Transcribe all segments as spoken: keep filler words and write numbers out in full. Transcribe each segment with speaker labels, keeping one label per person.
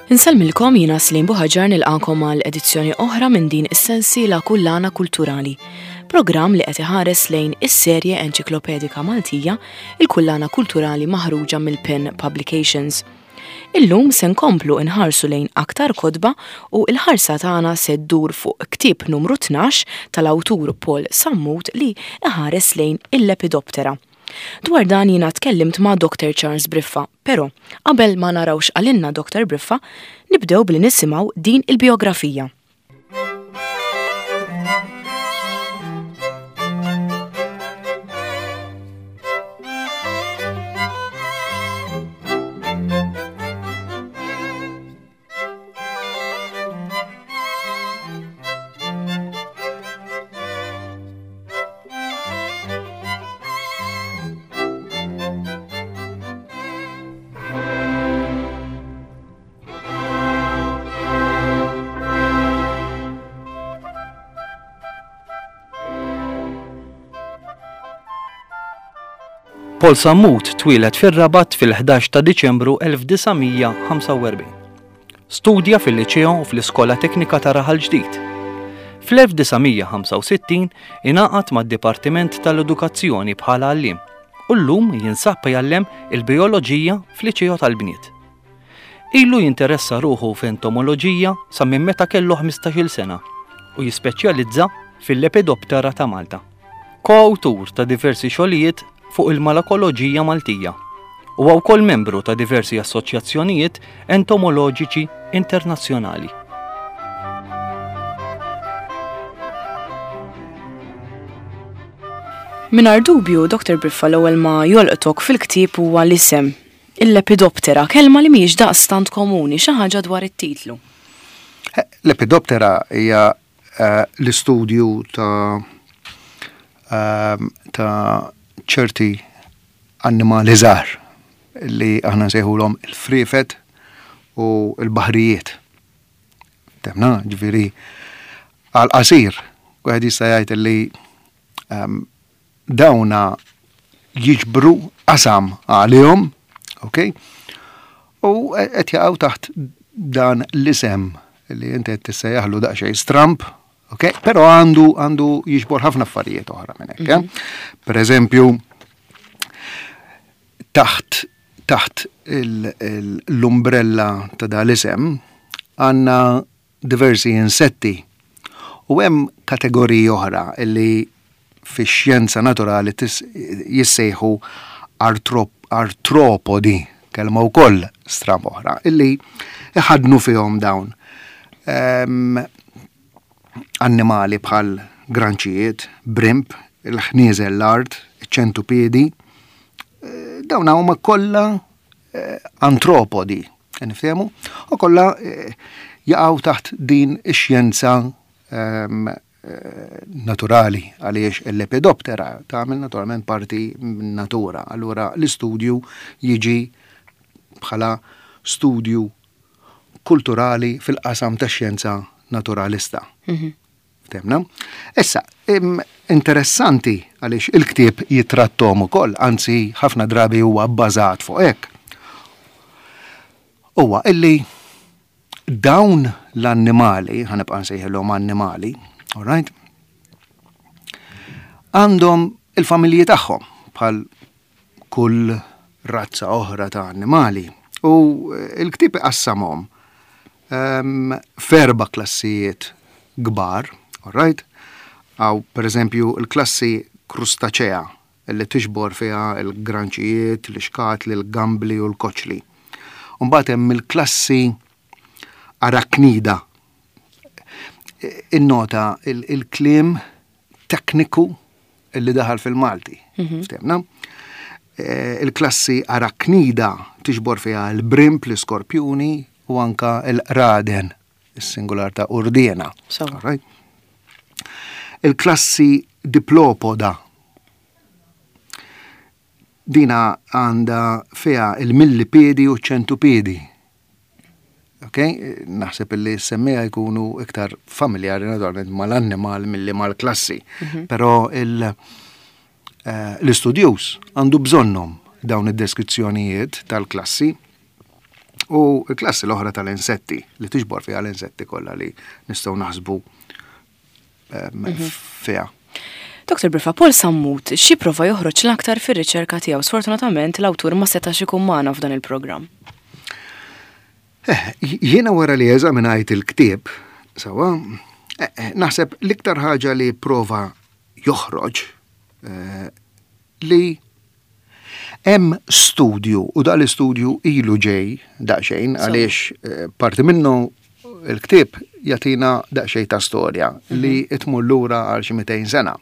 Speaker 1: Insellmilkom, jiena Slim Buħaġar, nilqakom għal edizzjoni oħra minn din is-sensiela Kullana Kulturali. Programm li qed iħares lejn is-serje enċiklopedika Maltija, il-Kullana Kulturali maħruġa mill-Pen Publications. Illum se nkomplu nħarsu lejn aktar kotba u l-ħarsa tagħna se ddur fuq ktieb numru tnax tal-awtur Paul Sammut li iħares lejn il-Lepidoptera. Dwar dan jiena tkellimt ma' Doctor Charles Briffa, però qabel ma naraw x'qalilna Doctor Briffa, nibdew billi nisimgħu din il-biografija.
Speaker 2: Paul Sammut twieled fir-Rabat fil-ħdax ta' Diċembru elf disa' mija ħamsa u erbgħin. Studja fil-Liċeo u fl-Iskola Teknika ta' Raħal Ġdid. Fl-elf disa' mija ħamsa u sittin ingħaqad mad-Dipartiment tal-Edukazzjoni bħala għalliem u llum jinsab jgħallem il-bijoloġija fl-Liċeo tal-Bniet. Ilu jinteressa ruħu f'entomoloġija sa minn meta kellu ħmistax-il sena u jispeċjalizza fil-Lepidoptera ta' Malta. Koawtur ta' diversi xogħlijiet fuq il-malakoloġija Maltija. Huwa wkoll membru ta' diversi assoċjazzjonijiet entomoloġiċi internazzjonali.
Speaker 1: Mingħajr dubju, Doctor Briffa, l-ewwel ma jolqtok fil-ktieb huwa l-isem, il-Lepidoptera, kelma li mhijiex daqstant komuni, xi ħaġa dwar it-titlu.
Speaker 3: Eh, Lepidoptera hija, eh, l-istudju ta', ehm, ta' ċerti annimali żgħar li aħna nsejħulhom il-friefet u l-baħrijiet. Temna, ġifieri għal-qasir, wieħed jista' jgħid li, ehm, dawna jiġbru qasam għalihom, ok? U qed jaqgħu taħt dan l-isem li inti qed tissejjaħlu daqsxejn stramp, ok? Però għandu, għandu jiġbor ħafna affarijiet oħra minn hekk, eh?
Speaker 1: Mhm.
Speaker 3: Per eżempju, taħt, taħt il-, il-, l-umbrella ta' dal-isem għandna diversi insetti u hemm kategoriji oħra li fix-xjenza naturali tis-, jissejħu artrop-, artropodi, kelma wkoll stramp oħra, illi iħadnu fihom dawn. Ehm, annimali bħal granċijiet, brimp, il-ħnieżel l-art, ċentupiedi, eh, dawn huma kollha, eh, antropodi, niftehmu, u kollha, eh, jaqgħu taħt din ix-xjenza, ehm, eh, naturali, għaliex il-Lepidoptera tagħmel naturalment parti minn natura. Allura l-istudju jiġi bħala studju kulturali fil-qasam tax-xjenza naturalista.
Speaker 1: Mhm.
Speaker 3: Temna? Issa, im-, interessanti għaliex il-ktieb jitrattom ukoll, anzi ħafna drabi huwa bbażat fuq hekk. Huwa illi dawn l-annimali, ħanibqa' nsejħilhom annimali, all right? Għandhom il-familji tagħhom bħal kull razza oħra ta' annimali. U il-ktieb iqassamhom, ehm, f'erba' klassijiet kbar, all right? Għaw, per eżempju, il-klassi Crustacea, li tixbor fiha il-granċijiet, l-ixkatli, l-gambli u l-koċli. Mbagħad hemm il-klassi Arachnida. Innota il-, il-kliem tekniku li daħal fil-Malti.
Speaker 1: Mhm.
Speaker 3: Ftemna? Eh, il-klassi Arachnida tixbor fiha l-brimp, l-iskorpjuni u anka l-raden, is-singular ta' urdiena.
Speaker 1: So.
Speaker 3: All right? Il-klassi Diplopoda. Dina għanda fiha il-millipedi u ċentupedi. Ok? Naħseb illi semmija jkunu iktar familjari naturalment mal-annimal milli mal-klassi.
Speaker 1: Mhm.
Speaker 3: Però il-, eh, l-istudjus għandu bżonnhom dawn id-deskrizzjonijiet tal-klassi. U l-klassi l-oħra tal-insetti, li tiġbor fiha l-insetti kollha li nistgħu naħsbu fiha.
Speaker 1: Doktor Briffa, Paul Sammut, xi prova joħroġ l-aktar fir-riċerka tiegħu? Sfortunatament l-awtur ma setax ikun magħna f'dan il-programm.
Speaker 3: Eh, jiena wara li eżaminajt il-ktieb, sawa, eh, eh, naħseb l-iktar ħaġa li prova joħroġ li hemm studju, u dal istudju ilu ġej daqsxejn, għaliex parti minnu il-ktieb jagħtina daqsxejn ta' storja li tmur lura għal xi mitejn sena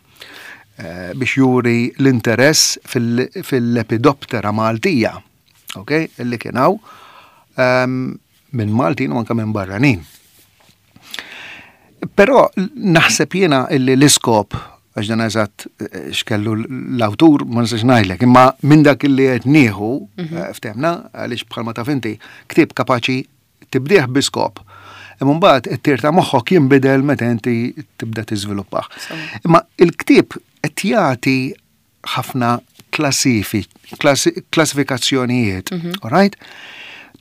Speaker 3: biex juri l-interess fil-lepidoptera Maltija, ok, illi kien hawn minn Maltin u anke minn barranin. Però naħseb jiena illi l-iskop, għax dan eżatt x'kellu l-awtur ma nistax ngħidlek, imma minn dak illi qed nieħu ftemna, għaliex bħalma taf inti, ktieb kapaċi tibdih bi skop. Imma mbagħad it-tir ta' moħħok jinbidel meta inti tibda tiżviluppah. Imma il-ktieb qed jagħti ħafna klassifikazzjonijiet, all right?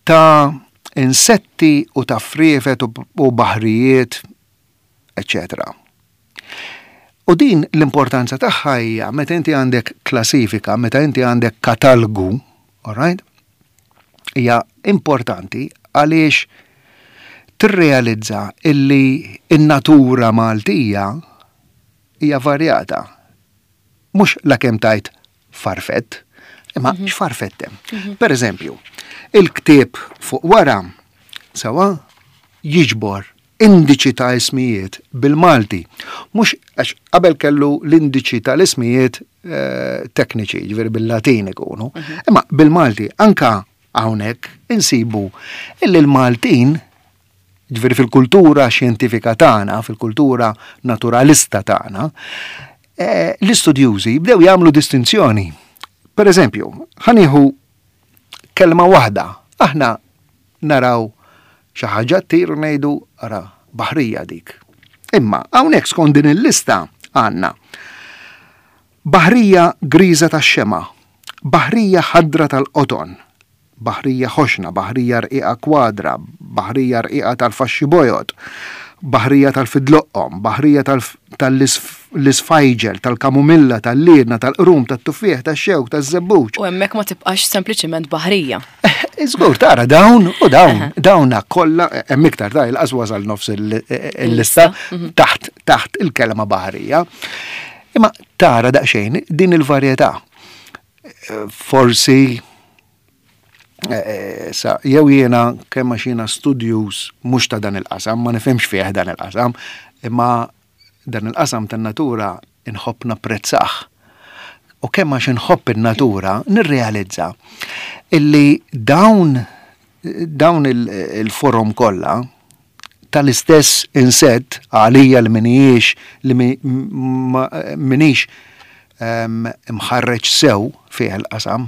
Speaker 3: Ta' insetti u ta' friefet u baħrijiet, eccetera. U din l-importanza tagħha hija meta inti għandek klassifika, meta inti għandek katalgu, all right? Hija importanti għaliex tirrealizza illi in-natura Maltija hija varjata. Mhux la kemm tajt farfett, imma x'farfett hemm. Per eżempju, il-ktieb fuq wara sawa jiġbor indiċi ta' ismijiet bil-Malti. Mhux għax qabel kellu l-indiċi tal-ismijiet tekniċi, ġifieri bil-Latin ikunu, imma bil-Malti anka hawnhekk insibu illi l-Maltin, ġifieri fil-kultura xjentifika tagħna, fil-kultura naturalista tagħna, l-istudjużi bdew jagħmlu distinzjoni. Per eżempju, ħanieħu kelma waħda, aħna naraw xi ħaġa ttir u ngħidu ara baħrija dik. Imma hawnhekk skont din il-lista għandna baħrija griża tax-xema, baħrija ħadra tal-qoton, baħrija ħoxna, baħrija rqiqa kwadra, baħrija rqiqa tal-faxxi bojod, baħrija tal-fidloqqom, baħrija tal-isfajġel, tal-kamumilla, tal-liedna, tal-qrum, tat-tuffieħ, tax-xewk, taż-żebbuġ.
Speaker 1: U hemmhekk ma tibqax sempliċiment baħrija.
Speaker 3: Żgur, tara dawn u dawn, dawna kollha hemm iktar ta' il-qas wasal nofs il-lista taħt taħt il-kelma baħrija. Imma tara daqsxejn din il-varjetà. Forsi sa jew jiena kemm għax jiena studjuż mhux ta' dan il-qasam, ma nifhimx fih dan il-qasam, imma dan il-qasam tan-natura inħobb napprezzah. U kemm għax inħobb in-natura nirrealizza illi dawn dawn il-forom kollha tal-istess insett għalija li minijiex li minix imħarreġ sew fih il-qasam.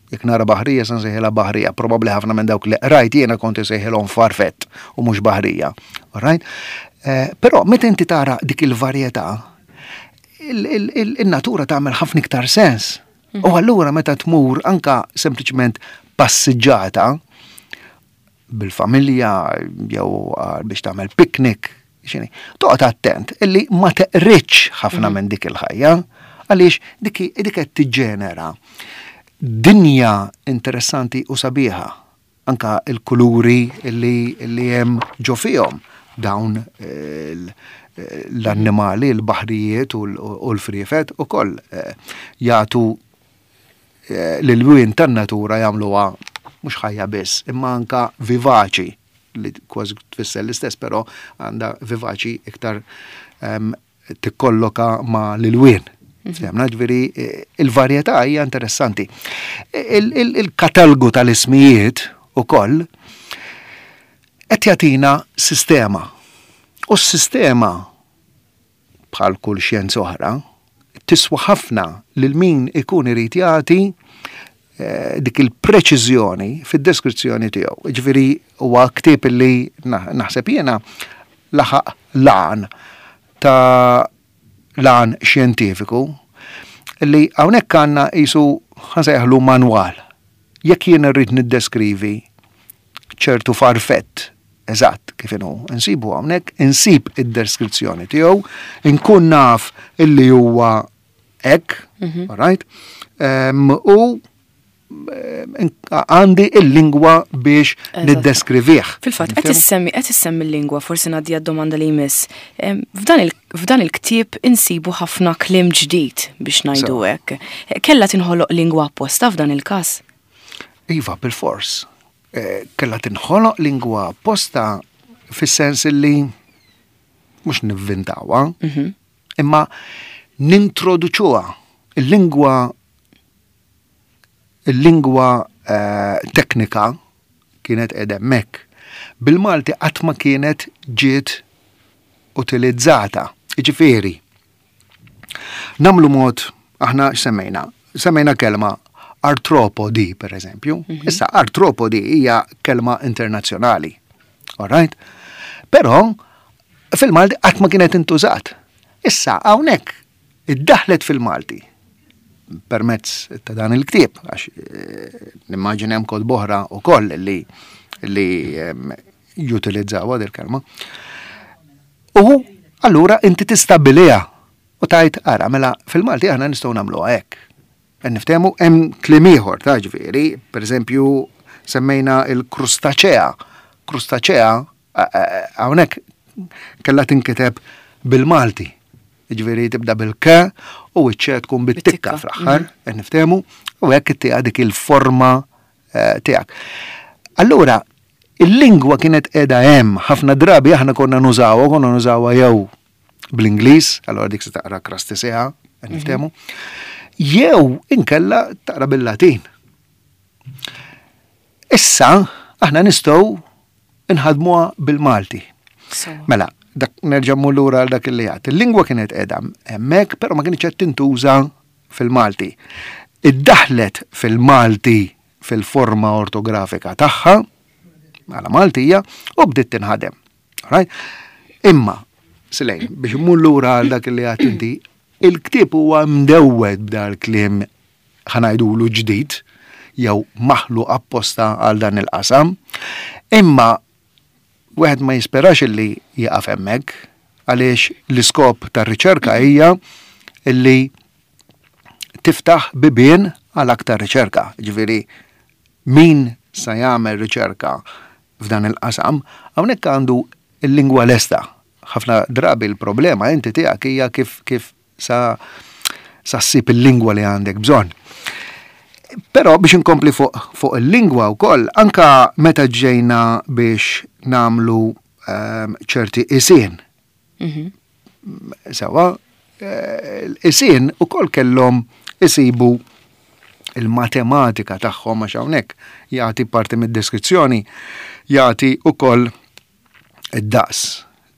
Speaker 3: Jekk nara baħrija se nsejħilha baħrija, probabbli ħafna minn dawk li qrajt jiena kont insejħilhom farfett u mhux baħrija. All right? Però meta inti tara dik il-varjetà, il-natura tagħmel ħafna iktar sens. U allura meta tmur anka sempliċement passiġġata bil-familja jew biex tagħmel picnic, xini, toqgħod attent illi ma teqritx ħafna minn dik il-ħajja, għaliex dik dik qed tiġġenera dinja interessanti u sabiħa, anka il-kuluri li, li hemm ġo fihom dawn l-annimali, l-baħrijiet u l-friefet u koll jagħtu l-lwien tan-natura jagħmluha mhux ħajja biss, imma anka vivaċi, li kważi tfisser l-istess, però għandha vivaċi iktar tikkolloka ma' l-lwien. Ftemna, ġifieri, il-varjetà hija interessanti. Il-katalgu tal-ismijiet ukoll qed jagħtina sistema. U s-sistema, bħal kull xjenza oħra, tiswa ħafna lil min ikun irid jagħti dik il-preċiżjoni fid-deskrizzjoni tiegħu. Ġifieri huwa ktieb li naħseb jiena laħaq lan ta' lan xjentifiku li hawnhekk għandna qisu ħansejħlu manwal. Jekk jien irrid niddeskrivi ċertu farfett eżatt kif inhu, insibu hawnhekk, insib id-deskrizzjoni tiegħu, inkun naf illi huwa hekk, all right? Em, u em, għandi il-lingwa biex
Speaker 1: Eżatt.
Speaker 3: niddeskrivih.
Speaker 1: Fil-fatt, qed issemmi qed issemmi l-lingwa, forsi ngħaddi għad-domanda li jmiss. Em, F'dan il- f'dan il-ktieb insibu ħafna kliem ġdid biex ngħidu
Speaker 3: So.
Speaker 1: hekk. Kella tinħoloq lingwa apposta f'dan il-każ?
Speaker 3: Iva, bil-fors. Eh, Kella tinħoloq lingwa apposta fis-sens li mhux nivvintawha, imma nintroduċuha. Il-lingwa il-lingwa eh, teknika kienet qiegħda hemmhekk. Bil-Malti qatt ma kienet ġiet utilizzata. Jiġifieri, nagħmlu mod, aħna x'semmejna? Semmejna kelma artropodi, per eżempju. Issa, artropodi hija kelma internazzjonali. All right? Però, fil-Malti qatt ma kienet intużat. Issa, hawnhekk iddaħlet fil-Malti permezz ta' dan il-ktieb, għax eh, nimmaġina hemm kotba oħra wkoll li li em, jutilizzaw il kelma. U allura inti tistabbiliha u tgħid ara mela fil-Malti aħna nistgħu nagħmluha hekk. Qed Niftehmu hemm kliem ieħor ta' ġifieri, pereżempju semmejna il-krustaċea. Krustaċea hawnhekk kellha tinkiteb bil-Malti. Ġifieri tibda bil-k u iċ-ċe tkun bit-tikka
Speaker 1: Bit-tikka,
Speaker 3: fl-aħħar, qed niftehmu, u hekk ittiha dik il-forma eh, tiegħek. Allura, il-lingwa kienet qiegħda hemm, ħafna drabi aħna konna nużawha, konna nużawha jew bl-Ingliż, allora dik se taqra crustacea, qed niftehmu, jew inkella taqra bil-Latin. Issa, aħna nistgħu nħadmuha bil-Malti.
Speaker 1: Sewa.
Speaker 3: Mela, dak nerġa' mmur lura għal dak li għedt. Il-lingwa kienet qiegħda hemmhekk, però ma kienx qed tintuża fil-Malti. Iddaħlet fil-Malti fil-forma ortografika tagħha, għala Maltija, u bdiet tinħadem. Right? Imma, Silejn, biex mmur lura għal dak li għedt inti, il-ktieb huwa mdewwed b'dal-kliem ħa ngħidulu ġdid, jew maħluq apposta għal dan il-qasam, imma wieħed ma jisperax illi jieqaf hemmhekk għaliex l-iskop tar-riċerka hija illi tiftaħ bibien għal aktar riċerka. Ġifieri min sa jagħmel riċerka f'dan il-qasam, hawnhekk għandu il-lingwa lesta. Ħafna drabi l-problema inti tiegħek hija kif kif sa sa ssib il-lingwa li għandek bżonn. Però biex inkompli fuq fuq il-lingwa wkoll, anka meta ġejna biex nagħmlu ehm, ċerti isien. Sewa, eh, l-isien ukoll kellhom isibu il-matematika tagħhom għax hawnhekk jagħti parti mid-deskrizzjoni jagħti ukoll id-daqs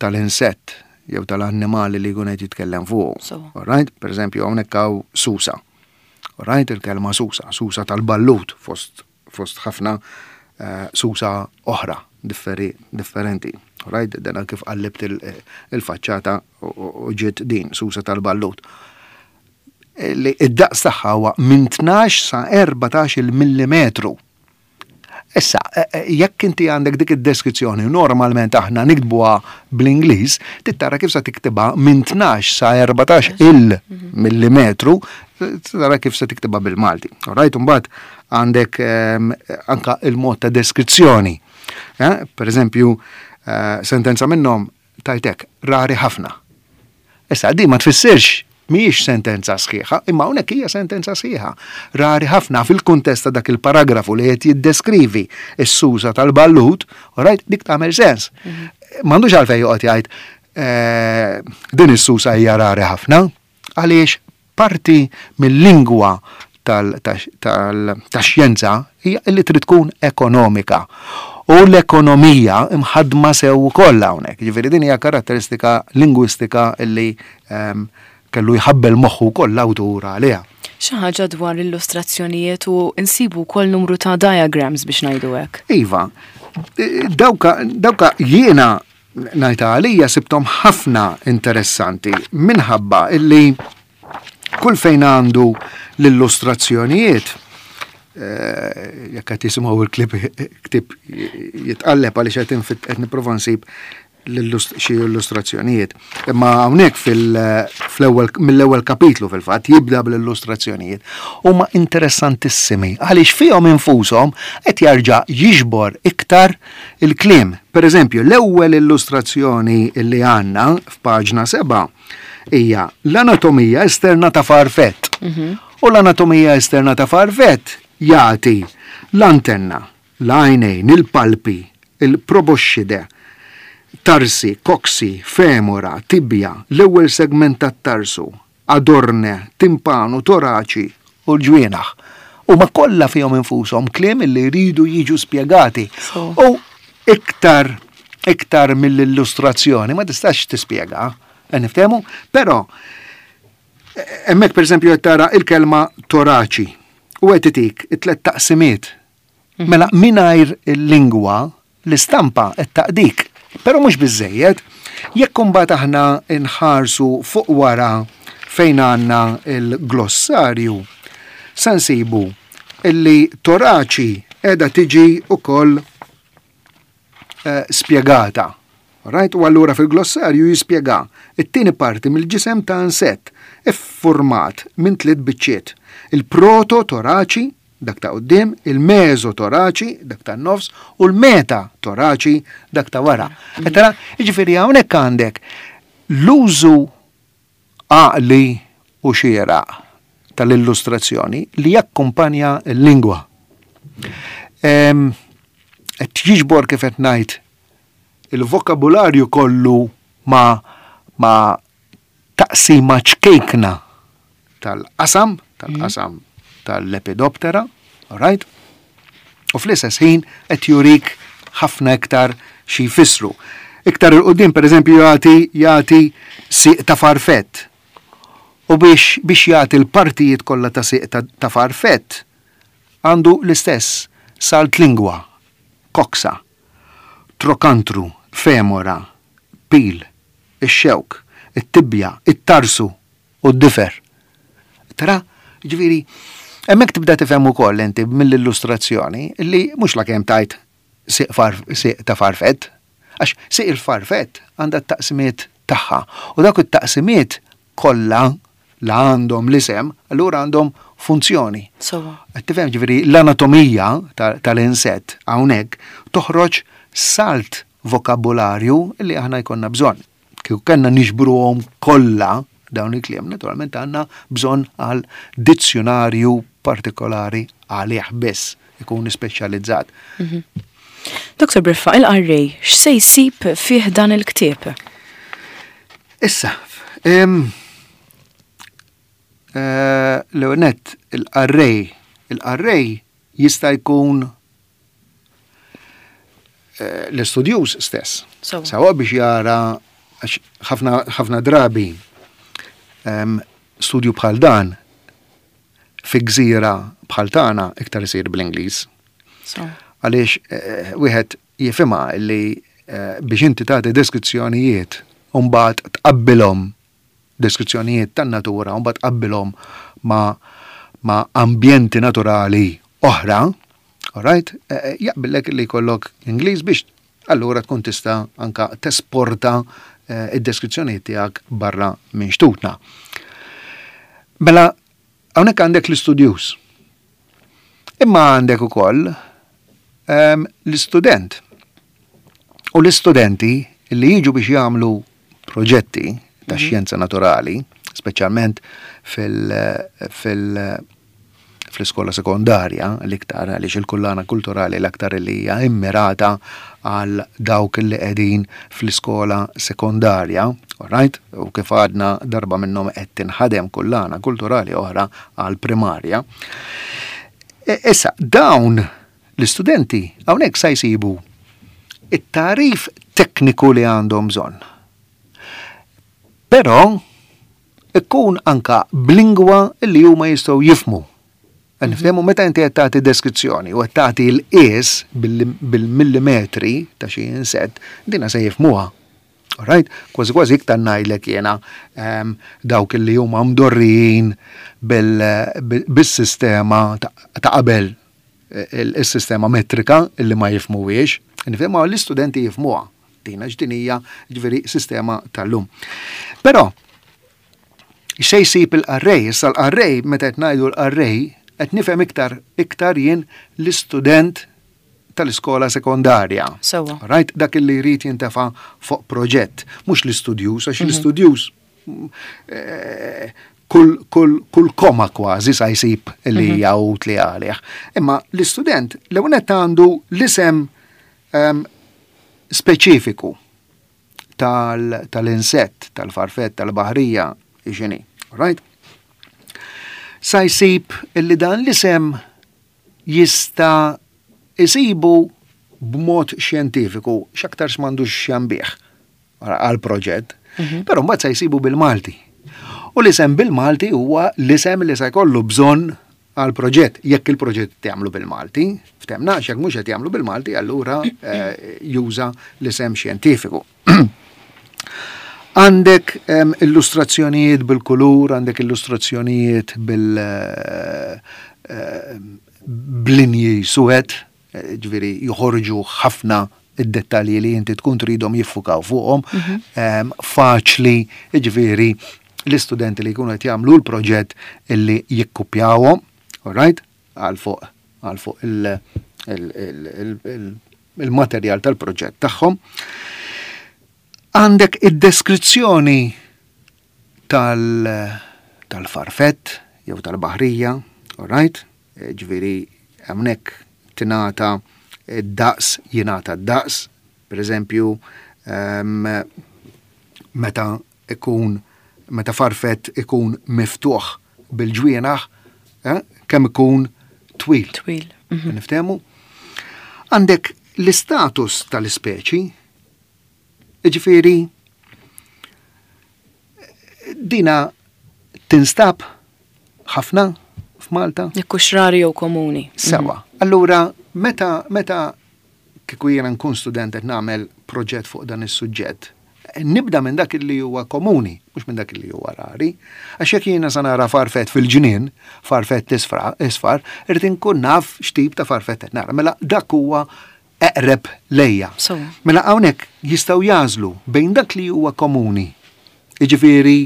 Speaker 3: tal-insett jew tal-annimali li jkun qed jitkellem fuq.
Speaker 1: Sewa.
Speaker 3: All right? Per eżempju, hawnhekk hawn susa. All right? Il-kelma susa, susa tal-ballut fost, fost ħafna eh, susa oħra differi, differenti. All right? Dena kif qallibt il- il-faċċata u- u u ġiet din, susa tal-ballut. Li id-daqs tagħha huwa minn tnax sa erbatax il millimetru. Issa, eh, eh, jekk inti għandek dik id-deskrizzjoni, normalment aħna niktbuha bl-Ingliż, trid tara kif sa tiktibha minn tnax sa erbatax il millimetru, tara kif sa tiktibha bil-Malti. Alright, mbagħad għandek ehm, anka il-mod ta' deskrizzjoni. Eh, Per eżempju, eh, sentenza minnhom tajtek, rari ħafna. Issa, di ma tfissirx mhijiex sentenza sħiħa, imma hawnhekk hija sentenza sħiħa. Rari ħafna fil-kuntest ta' dak il-paragrafu li qed jiddeskrivi s-susa tal-ballut, right, dik tagħmel sens. M'għandux għalfejn joqgħod jgħid eh, din is-susa hija rari ħafna, għaliex parti mill-lingwa tal-xjenza hija li trid tkun ekonomika. U l-ekonomija imħadma sew ukoll hawnhekk. Ġifieri din hija karatteristika lingwistika illi ehm, kellu jħabbel moħħu wkoll l-awtur għaliha.
Speaker 1: Xi ħaġa dwar illustrazzjonijiet u insibu wkoll numru ta' diagrams biex ngħidu hekk.
Speaker 3: Iva, dawka, dawka jiena ngħidha għalija sibthom ħafna interessanti minħabba illi kull fejn għandu l-illustrazzjonijiet eh, jekk qed jisimgħu il-klip ktieb jitqalleb għaliex qed infit qed nipprova nsib xi illustrazzjonijiet. Imma hawnhekk fil-ewwel mill-ewwel kapitlu fil-fatt jibda bl-illustrazzjonijiet. Huma interessantissimi għaliex fihom infushom qed jarġa' jiġbor iktar il-kliem. Per eżempju, l-ewwel illustrazzjoni li għandna f'paġna seba' hija l-anatomija esterna ta' farfett. Mhm. U l-anatomija esterna ta' farfett jagħti l-antenna, l-għajnejn, il-palpi, il-proboscide, tarsi, coxae, femora, tibja, l-ewwel segment tat-tarsu, adorne, timpanu, toraċi u l-ġwienaħ. U ma kollha fihom infushom kliem li jridu jiġu spjegati. U iktar iktar mill-illustrazzjoni ma tistax tispjega, niftehmu, però hemmhekk pereżempju qed tara il-kelma toraċi u qed itik it-tlet taqsimiet. Mhm. Mela mingħajr il-lingwa l-istampa qed taqdik. Però mhux biżejjed, jekk imbagħad aħna nħarsu fuq wara fejn għandna il-glossarju, se nsibu illi toraċi qiegħda tiġi ukoll eh, spjegata. Right? U allura fil-glossarju jispjega it-tieni parti mill-ġisem ta' insett iffurmat minn tliet biċċiet. Il-proto-toraċi, dak ta' quddiem, il-mesotoraċi, dak ta' nofs, u l-meta-toraċi, dak ta' wara. Tara, jiġifieri hawnhekk għandek l-użu għaqli u xieraq tal-illustrazzjoni li jakkumpanja l-lingwa. Qed jiġbor, kif qed ngħid, il-vokabularju kollu ma ma taqsima ċkejkna tal-qasam, tal-qasam tal-Lepidoptera, right? U fl-istess ħin qed jurik ħafna iktar xi jfissru. Iktar 'il quddiem, per eżempju, jagħti jagħti siq ta' farfett. U biex biex jagħti l-partijiet kollha ta' siq ta', ta farfett għandu l-istess salt lingwa, coxa, trokantru, femora, pil, ix-xewk, it-tibja, it-tarsu u d-difer. Tara, ġifieri, hemmhekk tibda tifhem ukoll inti mill-illustrazzjoni li mhux la kemm tajt siq ta' farfett, għax siq il-farfett għandha t-taqsimiet tagħha. U dak it-taqsimiet kollha la għandhom l-isem, allura għandhom funzjoni. Qed tifhem, ġifieri l-anatomija tal-insett hawnhekk toħroġ salt vokabularju li aħna jkollna bżonn. Kieku kellna niġbruhom kollha dawn il-kliem, naturalment għandna bżonn għal dizzjonarju partikolari għalih biss, ikun speċjalizzat.
Speaker 1: Mhm. Doktor Briffa, il-qarrej, x'se jsib fih dan il-ktieb?
Speaker 3: Issa, eh, l-ewwel il-qarrej, il-qarrej jista' jkun eh, l-istudjuż stess. Sawa biex jara ħafna drabi studju bħal dan fi gżira bħal tagħna iktar isir bl-Ingliż. Għaliex eh, wieħed jifhimha li eh, biex inti tagħti deskrizzjonijiet u mbagħad tqabbilhom, deskrizzjonijiet tan-natura, u mbagħad tqabbilhom ma' ma' ambjenti naturali oħra, alright, eh, jaqbillek li jkollok Ingliż biex allura tkun tista' anka tesporta id-deskrizzjonijiet tiegħek barra minn xtutna. Mela, hawnhekk għandek l-istudjuż. Imma għandek ukoll ehm, l-istudent. U l-istudenti li jiġu biex jagħmlu proġetti ta' mhm. xjenza naturali, speċjalment fil- fil- fl-iskola sekondarja l-iktar, għaliex il-kullana kulturali l-aktar li hija immirata għal dawk li qegħdin fl-iskola sekondarja, right? U kif għadna, darba minnhom qed tinħadem kullana kulturali oħra għal primarja. E, issa, dawn l-istudenti hawnhekk sa jsibu it-tarif tekniku li għandhom bżonn. Però ikun anka b'lingwa li huma jistgħu jifhmu. Niftehmu, meta inti qed tagħti deskrizzjoni u qed tagħti l-qies bil-millimetri ta' xi insett, dina se jifhmuha. Alright? Kważi kważi iktar ngħidlek jiena ehm, dawk li huma mdorrijin bis-sistema ta' qabel. il-sistema metrika illi ma jifhmuhiex, nifhimha l-istudenti jifhmuha. Dina x'din hija, ġifieri sistema tal-lum. Però xej jsib il-qarrej, issa l-qarrej, meta qed ngħidu l-qarrej, qed nifhem iktar iktar jien l-istudent tal-iskola sekondarja.
Speaker 1: Sewwa.
Speaker 3: Right? Dak li jrid jintefa' fuq proġett, mhux l-istudjuż, għax l-istudjuż eh, kull, kull, kull koma kważi sa jsib li hija utli għalih. Imma l-istudent l-ewwel għandu l-isem um, speċifiku tal- tal-insett, tal-farfett, tal-baħrija, x'inhi, right? Sa jsib illi dan l-isem jista' isibu b'mod xjentifiku, x'aktarx m'għandux x'jambih għal proġett, però mbagħad sa jsibu bil-Malti. U l-isem bil-Malti huwa l-isem li se jkollu bżonn għal proġett, jekk il-proġett jagħmlu bil-Malti, ftehmna, jekk mhux qed jagħmlu bil-Malti, allura eh, juża l-isem xjentifiku. Għandek em, illustrazzjonijiet bil-kulur, għandek illustrazzjonijiet bil eh, eh, b'linji suwed, eh, ġifieri joħorġu ħafna id-dettalji li inti tkun tridhom jiffukaw fuqhom, em, faċli, ġifieri l-istudenti li jkunu qed jagħmlu l-proġett illi jikkupjawhom, all right? Għal fuq għal fuq il- il- il- il- il- il-materjal tal-proġett tagħhom. Għandek id-deskrizzjoni tal- tal-farfett jew tal-baħrija, all right? Eh, Ġifieri hawnhekk tingħata id-daqs, jingħata d-daqs, per eżempju, em, meta ikun meta farfett ikun miftuħ bil-ġwienaħ, eh, kemm ikun twil.
Speaker 1: Twil.
Speaker 3: Niftehmu? Għandek l-istatus tal-ispeċi, ġifieri, dina tinstab ħafna f'Malta?
Speaker 1: Jekk hux rari jew komuni.
Speaker 3: Sewwa. Allura, meta, meta kieku jiena nkun student qed nagħmel proġett fuq dan is-suġġett, nibda minn dak li huwa komuni, mhux minn dak li huwa rari. Għax jekk jiena sa nara farfett fil-ġnien, farfett isfra, isfar, irrid inkun naf x'tip ta' farfett qed nara. Mela dak huwa eqreb lejja.
Speaker 1: Sewwa.
Speaker 3: Mela hawnhekk jistgħu jagħżlu bejn dak li huwa komuni, jiġifieri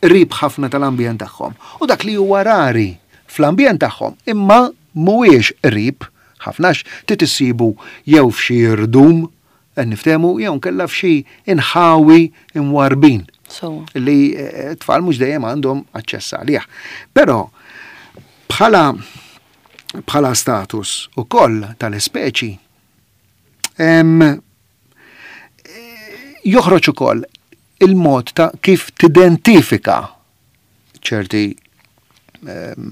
Speaker 3: qrib ħafna tal-ambjent tagħhom, u dak li huwa rari fl-ambjent tagħhom, imma mhuwiex qrib ħafna trid issibu jew f'xi irdum, qed niftehmu, jew nkella f'xi inħawi imwarbin
Speaker 1: Sewwa.
Speaker 3: li eh, tfal mhux dejjem għandhom aċċess għalih. Però bħala bħala status ukoll tal-ispeċi em, eh, joħroġ ukoll il-mod ta' kif tidentifika ċerti em,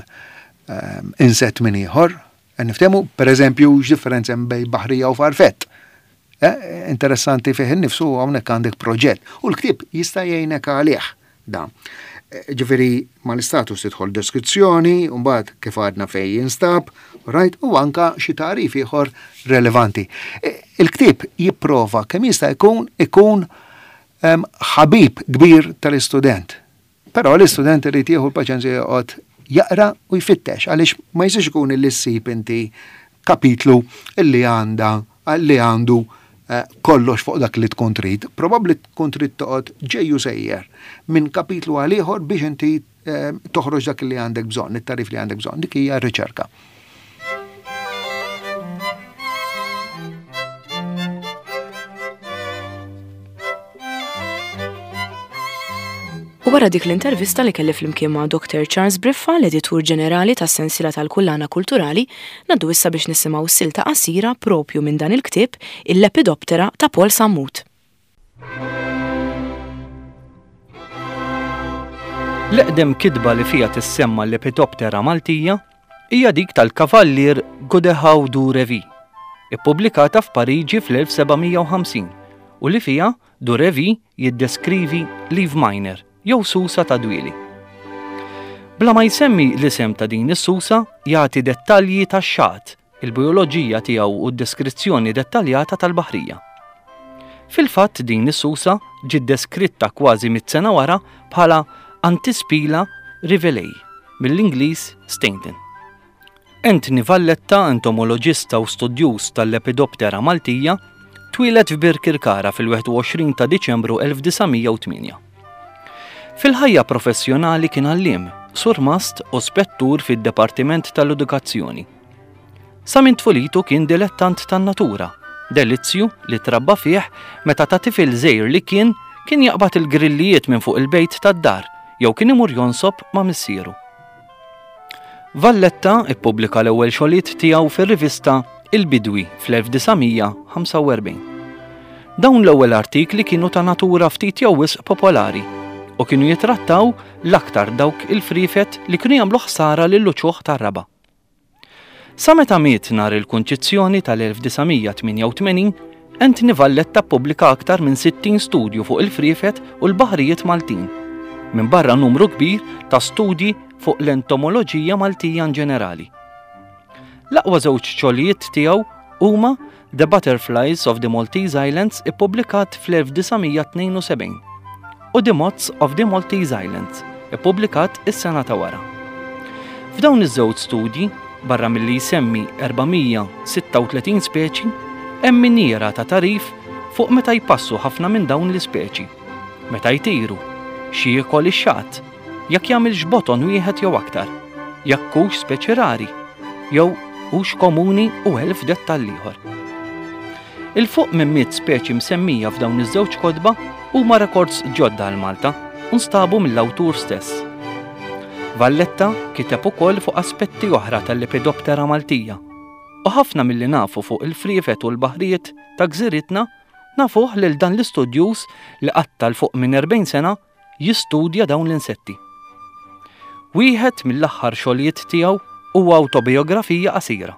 Speaker 3: em, insett minn ieħor. Niftehmu, per eżempju, x'differenza hemm bejn baħrija u farfett. Eh, interessanti fih innifsu hawnhekk għandek proġett. U l-ktieb jista' jgħinek għalih da. Eh, Ġifieri mal-istatus tidħol deskrizzjoni, u mbagħad kif għadna fejn jinstab, right, u anka xi tagħrif ieħor relevanti. Eh, Il-ktieb jipprova kemm jista' jkun ikun em, ħabib kbir tal-istudent. Però l-istudent irid jieħu l-paċenzja joqgħod jaqra u jfittex għaliex ma jistax ikun illi ssib inti kapitlu illi għanda li għandu eh, kollox fuq dak li tkun trid. Probabbli tkun trid toqgħod ġejju sejjer minn kapitlu għal ieħor biex inti eh, toħroġ dak li għandek bżonn, it-tagħrif li għandek bżonn. Dik hija r-riċerka.
Speaker 1: U wara dik l-intervista li kelli flimkien ma' Doktor Charles Briffa, l-editur ġenerali tas-sensiela tal-Kullana Kulturali, ngħaddu issa biex nisimgħu silta qasira propju minn dan il-ktieb Il-Lepidoptera ta' Paul Sammut.
Speaker 2: L-eqdem kitba li fija tissemma l-Lepidoptera Maltija hija dik tal-Kavallier Godehaw du Revy, ippubblikata f'Pariġi fl-elf seba' mija u ħamsin u li fija du Revy jiddeskrivi leaf miner jew susa ta' dwieli. Bla ma jsemmi l-isem ta' din is-susa, jagħti dettalji tax-xat, il-bijoloġija tiegħu u d-deskrizzjoni dettaljata tal-baħrija. Fil-fatt din is-susa ġiet deskritta kważi mitt sena wara bħala Antispila rivelei mill-Ingliż Stainton. Anthony Valletta, entomoloġista u studjuż tal-Lepidoptera Maltija, twieled f'Birkirkara fil-wieħed u għoxrin ta' Diċembru elf disa' mija u tmienja. Fil-ħajja professjonali kien għalliem, surmast u spettur fid-Dipartiment tal-Edukazzjoni. Sa minn tfulitu kien dilettant tan-natura, delizzju li trabba fih meta ta' tifel żgħir li kien kien jaqbad il-grillijiet minn fuq il-bejt tad-dar jew kien imur jonsob ma' missieru. Valletta ippubblika l-ewwel xogħlijiet tiegħu fir-rivista Il-Bidwi fl-elf disa' mija ħamsa u erbgħin. Dawn l-ewwel artikli kienu ta' natura ftit jew wisq popolari u kienu jitrattaw l-aktar dawk il-frifet li kienu jagħmlu ħsara lil uċuħ tar-raba'. Sa meta miet nhar il-Kunċizzjoni tal-elf disa' mija tmienja u tmenin, Anthony Valletta ppubblika aktar minn sittin studju fuq il-frifet u l-baħrijiet Maltin, minn barra numru kbir ta' studji fuq l-entomoloġija Maltija in ġenerali. L-aqwa żewġ xogħlijiet tiegħu huma The Butterflies of the Maltese Islands, ippubblikat fl-elf disa' mija tnejn u sebgħin, u The Moths of the Maltese Islands, ippubblikat is-sena ta' wara. F'dawn iż-żewġ studji, barra milli jsemmi erba' mija sitta u tletin speċi, hemm miniera ta' tagħrif fuq meta jpassu ħafna minn dawn l-ispeċi, meta jtiru, xi jiekol ix-xagħat, jekk jagħmilx boton wieħed jew aktar, jekk hux speċi rari, jew hux komuni u elf dettall ieħor. 'Il fuq minn mitt speċi msemmija f'dawn iż-żewġ kotba huma rekords ġodda għal Malta u nstabu mill-awtur stess. Valletta kiteb ukoll fuq aspetti oħra tal-Lepidoptera Maltija. U ħafna milli nafu fuq il-friefet u l-baħrijiet ta' gżiritna nafuh lil dan l-istudjuż li qatta' 'l fuq minn erbgħin sena jistudja dawn l-insetti. Wieħed mill-aħħar xogħlijiet tiegħu huwa awtobiografija qasira.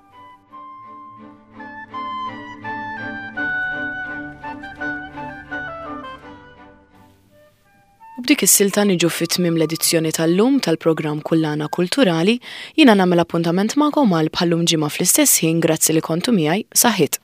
Speaker 1: U b'dik is-silta niġu fit-tmiem l-edizzjoni tal-lum tal-programm Kullana Kulturali. Jiena nagħmel appuntament magħkom għal bħallum ġimgħa fl-istess ħin. Grazzi li kontu miegħi. Saħħit.